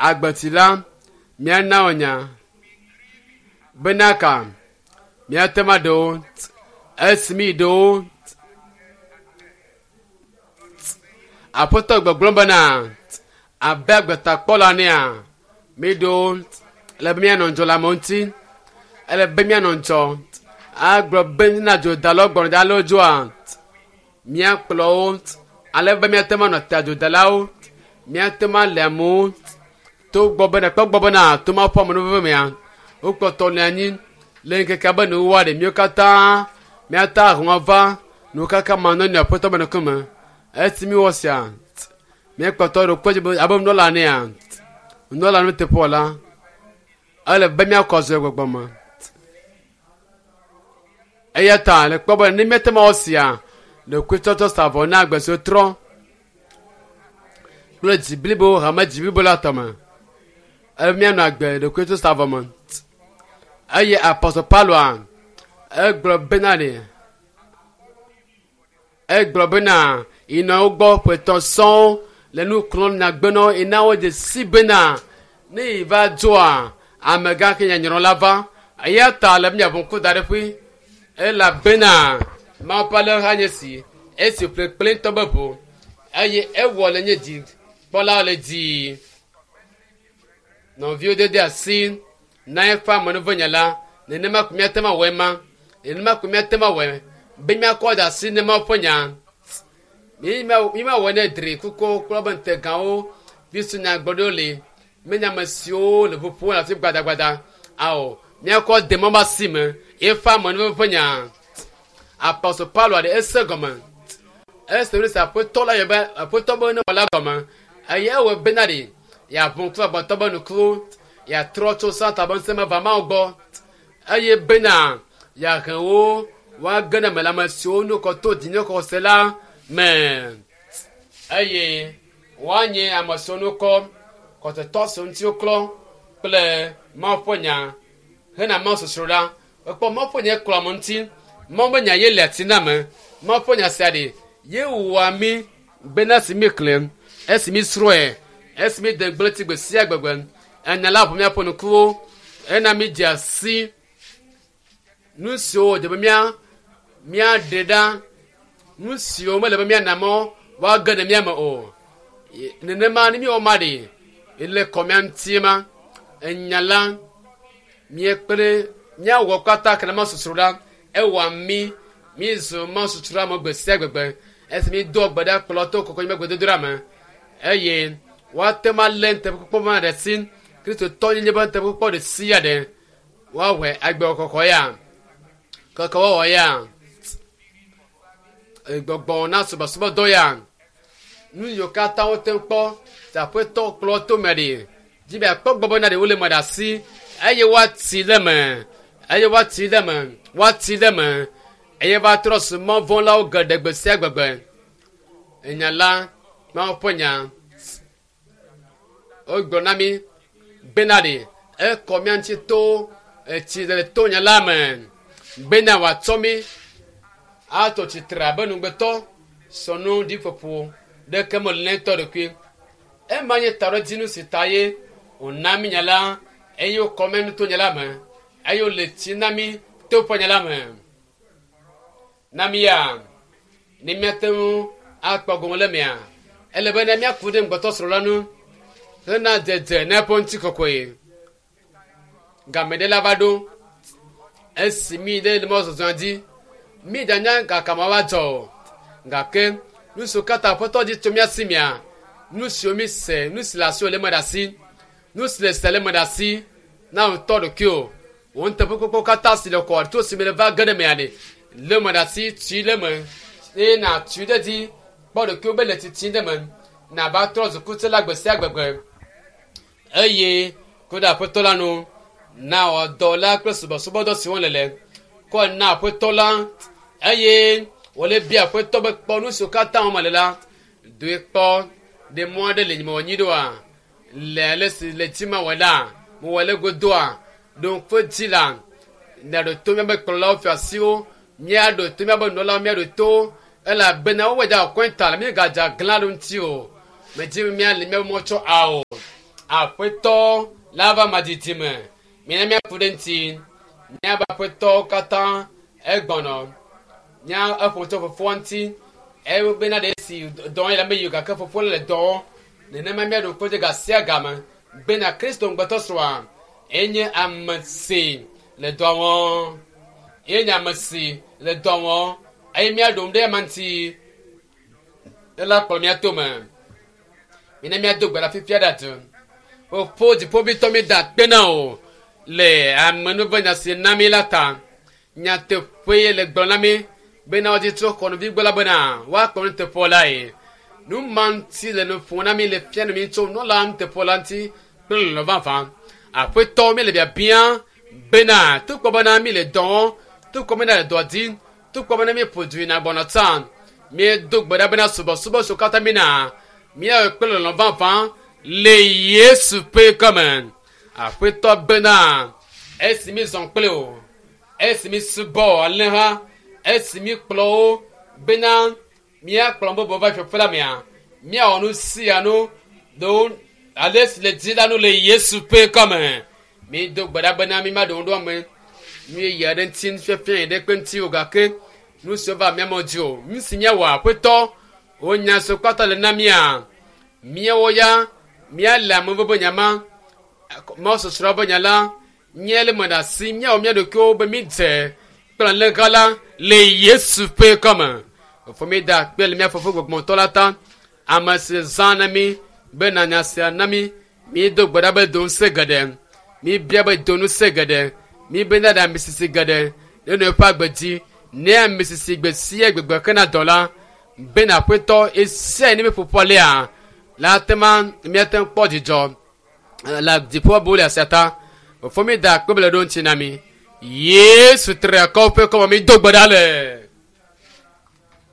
Agbetsi la, míana wo nya bena ka míate ŋu aɖe wo esi mi ɖe wo. Aƒetɔ gbɔgblɔm bena abe agbetakpɔla nea mi ɖo ele be míanɔ ŋdzɔ le amewo ŋuti ele be míanɔ ŋdzɔ agblɔ be na dzodalawo gbɔna dza alo dzoa míakplɔ wo ale be míate ŋu anɔ te adzodalawo míate ŋu ale amewo to gbɔ bena kpɔ gbɔ bena to ma ƒe amenuveve mea wokpɔtɔ le anyi le ŋkekea be nuwuwua ɖe míwo katã míata ahɔ̃ va nukaka manɔnɔ aƒetɔ be ŋkume esi míwɔ sia míekpɔtɔ ɖo kpe dzi be abe nunɔla enea nunɔla nuteƒewɔla ele be míakɔ azɔ le gbɔgbɔ me eya ta le kpɔ be ne míate ŋu awɔ sia ɖokuitsɔtsɔ sa vɔ na agbe siwo trɔ kple dzi blibo hame dzi blibo la tɔme ele be míanɔ agbe ɖokuitsɔtsɔ sa vɔ me eye apɔstɔ Pauloa egblɔ bena ɖe Egblɔ bena, Yi nɔ wo gbɔ ƒe etɔ̃ sɔŋ le nu klɔm nyagbe na wo, ena wodze si bena, ne yi va dzoa, amegã ke nyɔnyrɔ la va. Eya ta le míaʋu ŋku da ɖe ƒui, elabena Mawu ƒe alẽha nye esi, esi ƒle kple ŋutɔ be ʋu, eye ewɔ le nye dzi kpɔlawo le dzi. Nɔviwo dede asi na eƒe amenuvenya la, nenema ko míate ŋu awɔe ma. Nenema ko míate ŋu awɔe be míakɔ da asi ne Mawu ƒe nya. Mímawɔe ne dri kukuwo kple woƒe ŋutegawo, Kristo nyagblɔɖiwo li, menye ame siwo le ʋu ƒom le afi gbadagbada. Ao, míakɔ de Mawu ƒe asi me eƒe amenuveve ƒe nya. Apostol Paulo ɖe ese gɔme. Ese nu si Aƒetɔ la yɔ be Aƒetɔ be newɔ la gɔme. Eye ewɔe bena ɖe yeaʋu ŋku agbetɔ be nukuwo, yeatrɔ tso Satan be ŋusẽ me va Mawu gbɔ, eye bena yeahe wo woage ɖe eme le ame siwo nu kɔ to dzinye xɔse la me, eye woanye ame siwo nu kɔ xɔsetɔ siwo ŋuti woklɔ kple Mawu ƒe nya hena Mawu sosroɖa. Ekpɔ Mawu ƒe nya klɔ ame ŋuti. Mawu ƒe nya ye le ati na ame. Mawu ƒe nya sia ɖe ye wɔa mí bena esi míexlẽ, esi mísrɔ̃e, esi míede ŋugble tsi gbe sia gbegbe, enya la ʋu míaƒe ŋkuwo, ena mídzea si nu siwo wòdze be mía míaɖe ɖa, nu siwo mele be míana mɔ woage ɖe mía me o. Nenema ne míewɔ ma ɖi le kɔ mía ŋuti ma, enya la míekpe ɖe míawɔ kpata ke ne masusru ɖa ewɔa mí mízu masusru ame gbe sia gbegbe esi mídoa gbe ɖa kplɔ to kɔkɔe me gbedodoɖa me eye woate ŋu alé nuteƒekpɔkpɔ ma ɖe asi kristotɔ nyenye be nuteƒekpɔkpɔ ɖe sia ɖe woawɔe agbe kɔkɔ ya keke wɔwɔ ya gbɔgbɔ na subɔsubɔdɔ ya nu yiwo katã wote ŋu kpɔ si aƒetɔ kplɔ to me ɖi dzi be akpɔ gbɔ bena ɖe wole me ɖe asi eye woati ɖe me eye woati ɖe me woati ɖe me eye va trɔ zu mɔvɔ̃lawo geɖe gbe sia gbegbe enya la Mawu ƒe nya wogblɔ na mí bena ɖe ekɔ mía ŋuti to etsi le to nya la me bena wòatsɔ mí atɔ tsitre abe nugbetɔ sɔnu ɖiƒoƒo ɖeke mele ne tɔ ɖokui. Ema nye taɖodzinu si ta ye wòna mí nya la eye wokɔ mía nu to nya la me eye wòle tsi na mí to ƒe nya la me. Na mía ne míate ŋu akpɔ gome le mea, ele be ne míaku ɖe ŋugbetɔsrɔ̃ la ŋu hena dzedze na eƒe ŋutikɔkɔe. Game ɖe la va ɖo esi mí ɖe le mɔzɔzɔa dzi. Mí danya gake ma va dzɔ o. Gake nu siwo katã Aƒetɔ dzi tso mía si mea, nu siwo mí se, nu si le asiwò le eme ɖe asi, nu si le se le eme ɖe asi na wò ŋutɔ ɖokuiwò. Wò nuteƒekpɔkpɔ katã si le kɔ tso esime nèva ge ɖe emea ɖe, lé eme ɖe asi, tui ɖe eme eye nàtui ɖe edzi. Kpɔ ɖokuiwò be le tsitsim ɖe eme, nàva trɔ zu kutsela gbe sia gbegbe. Eye ku ɖe Aƒetɔ la nu, na wɔ dɔ la kple subɔsubɔdɔ si wɔm nèle. Kɔe na Aƒetɔ la, eye wòle bia Aƒetɔ be kpɔ nu siwo katã wɔm mele la, doe kpɔ. Ɖe mɔ aɖe li mewɔ nyui ɖoa? Le ale si le dzi mawɔe la, mewɔe le godoa? Ɖo ŋku edzi la, miaɖo to míaƒe kplɔlawo, fiasiwo, míaɖo to míaƒe nunɔlawo, míaɖo to wo, elabena wowɔe da kɔnta le míegadze aglã ɖe ŋuti o. Medzi be míali míaƒe mɔ tsɔ ao. Aƒetɔ la va madidi me. Mina míaku ɖe ŋuti. Míabe aƒetɔwo katã egbɔnɔ. Mía eƒo tso fofoa ŋuti. Eye bena ɖe esi dɔ yi la meyi o gake fofoa le dɔ wɔm. Nenema míaɖo ŋku edzi ga sia game bena Kristo ŋugbetɔ srɔ̃a enye ame si le dɔ wɔm. Ye nye ame si le dɔ wɔm eye míaɖo ŋu ɖe ema ŋuti. Ela kplɔ mía tome. Mina míado gbe ɖa fifia ɖe adu. Fofo dziƒovitɔ mi da akpe na wò le amenuvenya si na mí la ta. Nyateƒe ye le gblɔ na mí bena wodzi tso xɔnuvi gbɔ la bena woakplɔ nuteƒewɔla lae. Nu ma ŋuti le nu ƒom na mí le fia nu mí tso nunɔla nuteƒewɔla ŋuti kple lɔlɔ̃ vavã. Aƒetɔ mi le biabia bena togbɔ bena mi le dɔ wɔm, togbɔ bena le dɔ dim, togbɔ bena mi ƒo du yina gbɔna tsã, míedo gbe ɖa bena subɔsubɔ siwo katã mina míawɔe kple lɔlɔ̃ vavã le Yesu ƒe ŋkɔme. Aƒetɔ bena esi mi zɔ kple o, esi mi subɔ alẽha, esi mi kplɔ wo bena míakplɔ bubu va fiaƒe la mea, míawɔ nu sia nu ɖewo ale si le dzi la nu le Yesu ƒe ŋkɔme. Mído gbe ɖa bena mímaɖo ŋu ɖo ame nu yeye aɖe ŋuti, nufiafia yi ɖe kpe ŋuti o gake nu siwo va mía me dzi o. Nu si míawɔ aƒetɔ, wo nya siwo kpata le na mía, míawo ya míale ame ƒe nya ma, Mawu sɔsrɔ̃ ƒe nya la, míele me ɖe asi, míawɔ mía ɖokuiwo be mídze kple alẽha la le Yesu ƒe ŋkɔme. Fofo mi da akpe le mía fofo gbɔgbɔtɔ la ta, ame si zã na mí be nanya sia na mí. Mído gbe ɖa be do ŋusẽ geɖe. Míbia be do ŋusẽ geɖe. Míbe na ɖe ame sisi geɖe ne nɔ eƒe agbe dzi. Ne ame sisi gbe sia gbegbe kena dɔ la, bena aƒetɔ esia ne míeƒoƒu alea la te ma míate ŋu kpɔ dzidzɔ le dziƒo bu le asia ta. Fofo mi da akpe be le ɖo ŋuti na mi. Yesu tri akɔ ƒe kɔme mi do gbe ɖa le.